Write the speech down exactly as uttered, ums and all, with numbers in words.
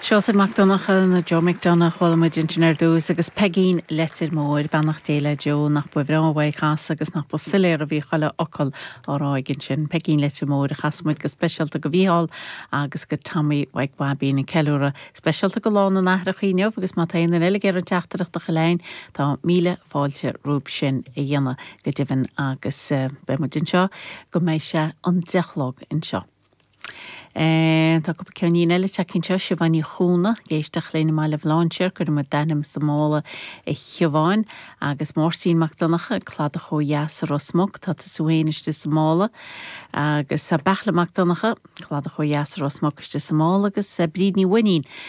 Seosamh Mac Donncha nó Joe McDonagh chuala muid ansin ar dtús agus Peigín Leitir Móir beannacht Dé le Joe nach ba bhreá uaidh casadh agus nach ba soiléir a bhí chuile fhocal á rá aige ansin. Peigín Leitir Móir a chas muid go speisialta go Mhícheál agus go Tommy Mhaidhc Bhaibín an ceiliúradh speisialta go Lá na nAithreacha inniu agus má tá aon eile ag iarraidh teachtaireacht a chur chugainn tá míle fáilte rompu sin a dhéanamh go deimhin agus uh, beidh muid anseo go mbeidh sé an deich a chlog anseo. E, tá cúpla ceann eile tagtha anseo Siobhán Ní Chúna ag éisteacht linn i mBaile Bhlainséir cuirim d'ainm sa mála a Shiobháin agus Máirtín Mac Donncha Cladach ó dheas i Ros Muc tá tú féin istigh sa mála agus a Beachla Mac Donncha Cladach ó dheas i Ros Muc istigh sa mála agus Bríd Ní Bhuinín